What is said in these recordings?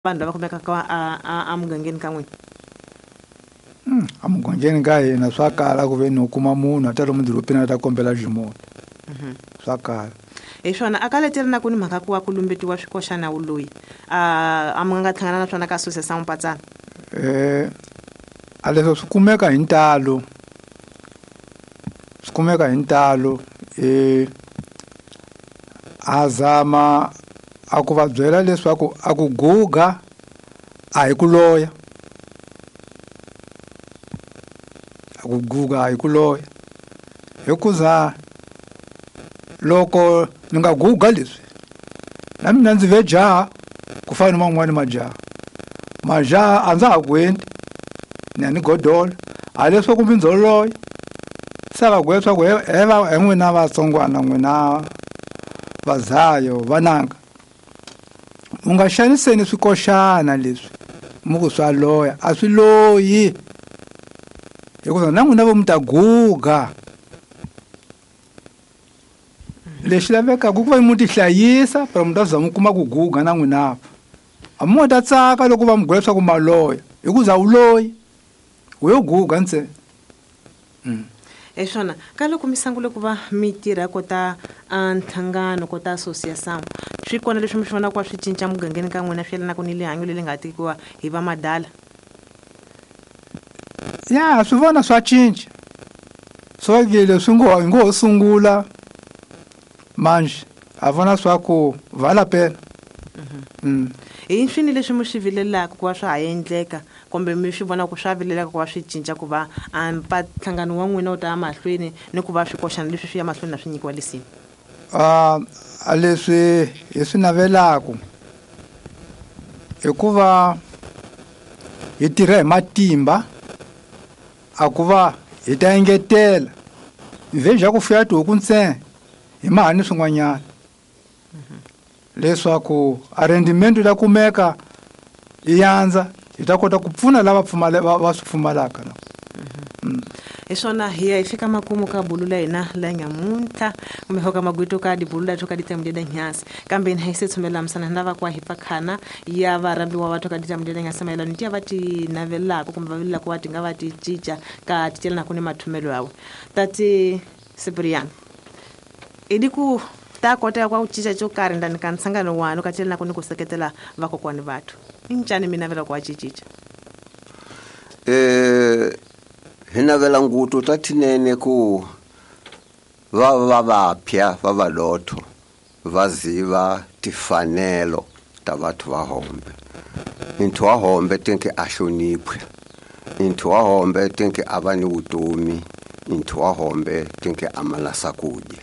Vanhu lava kumekaka a mugangeni ka n'wina. Emugangeni ka hina swa kala ku ve ni u kuma munhu a ta lomu dorobeni a ta kombela ximunhu. Swa kala. Hi swona a ka leteri na ku ni mhaka ku wa ku lumbetiwa swikoxana wu loyi a mi nga hlangana na swona ka association Mpatsana. A leswo swi kumeka hi ntalo. Swi kumeka hi ntalo a zama a ku va byela leswaku a ku guga a hi ku loya. A ku guga a hi ku loya. Hikuza loko ni nga guga leswi na mina ndzi ve jaha ku fana ni man'wani majaha. Majaha a ndza ha ku endli ni ya ni godola a leswaku mi ndzo loya. Se va ku leswaku he n'wina vatsongwana n'wina vazayo vananga u nga xaniseni swikoxana leswi mi ku swa loya a swi loyi hikuva na n'wina vo mi ta guga. Lexi lavekaka ku va mi tihlayisa pero mi ta za mi kuma ku guga na n'wina. A mi nga ta tsaka loko va mi gwela leswaku maloya hikuza wu loyi wu yo guga ntsena. Hi swona ka loko mi sungule ku va mi tirha kota a nhlangano kota association swi kona leswi mi swi vonaka swi cinca mugangeni ka n'wina swi yelanaka ni lihanyo leri nga tekiwa hi va madala? Ya swi vona swa cinca. Swo ke leswi ngo hi ngo sungula manje a vona swa ku va lapela. Hi swini leswi mi swi vilelaka ku va swa ha endleka kumbe mi swi vona ku swa vilelaka ku va swi cinca ku va nhlangano wa n'wina wu ta ya mahlweni ni ku va swikoxana leswi swi ya mahlweni na swi nyikiwa lisima? A leswi hi swi navelaka hikuva hi tirha hi matimba a ku va hi ta engetela vhejha ku fuya tihuku ntsena hi maha ni swin'wanyana leswaku a rendimento ta kumeka yi yandza hi ta kota ku pfuna lava va swi pfumalaka. Hi swona hi ya hi fika makumu ka bulu la hina la nyamuntlha kumbe ka magwito ka dibulu la ka ditamudeda nyasi kambe hi se tshumela misana na va kwa hi pakhana ya varhambiwa va ka ditamudeda nyasi mayelana ni va ti navelaka kumbe va vilelaka va ti nga va ti cinca ka titelana ku ni mathumelo yawe. Tati Cyprian i ku ta kota ku cinca xo karhi ndani ka nhlangano wanu ka telana ku ni ku seketela vakokwani vathu i ncani mi navela ku va cincica? Hi navela nguto ta tinene ku va va vapya va valotho va ziva tifanelo ta vathu va hombe. Nthu wa hombe tinke a hloniphe, nthu wa hombe tinke a va ni vutomi, nthu wa hombe tinke a malasa kudya.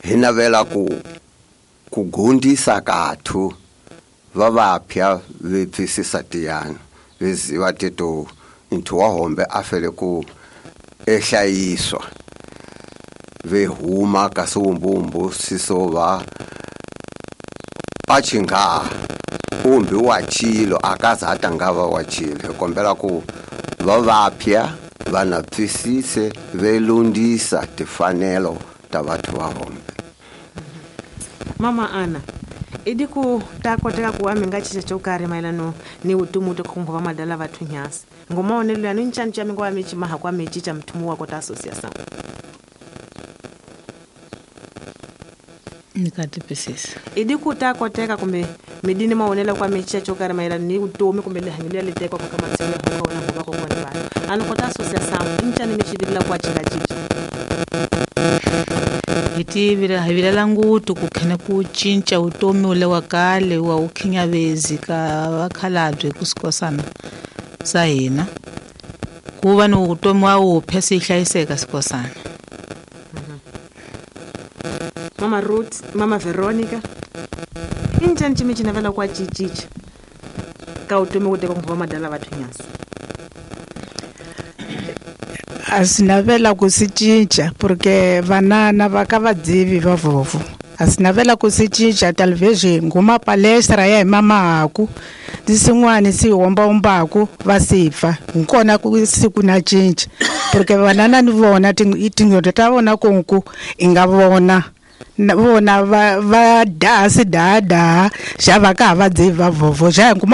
Hi navela ku gundisa kathu va vapya ve pfisisa tiyana ve ziva teto nthu wa hombe a fele ku ehlayiswa ve huma ka siwumbumbu siso va achinga umbi wa chilo akazata ngava wa chilo. Hi kombela ku va vapya va na pfisise ve lundisa tifanelo ta vathu va hombe. Mama Ana i ku ta koteka ku wa mi nga cinca xo karhi mayelano ni vutomi ta khongo va madala vathu nyasi ngoma onelo ya ni ncanca mi ngo mi cimaha kwa mi cinca mthumu wa kota association ni ka tipisisa. I di ku ta koteka kumbe midini maonelo kwa mi cinca xo karhi mayelano ni vutomi kumbe lihanyo leri li tekiwaka ka matshelo ya honga wona ngoma kokwana vanhu a ni kota association i ncani mi xivilela ku wa cinca cinca? Hi tivila hi vilela ngutu ku khene ku cinca vutomi ule wa kale wa wu khinyavezi ka vakhalabye ku sikosana sa hina ku va ni vutomi wa wupya swi hlayiseka sikosana. Mama Ruth, Mama Veronica i ncani cimi ci navela ku wa cincica ka vutomi ku teka va madala vathu nyasi? A swi navela ku swi cinca porque vanana va ka vadzivi va vovo a swi navela ku swi cinca talvez nguma palestra ya hi mamahaku ni swin'wana swi hombahombaku va swi pfa hi kona ku siku na cinca porque vanana ni vona tinqondo ta vona kunku i nga vona vona va daha swi dahadaha xa va ka ha va dzivi va vovo xa hi kuma.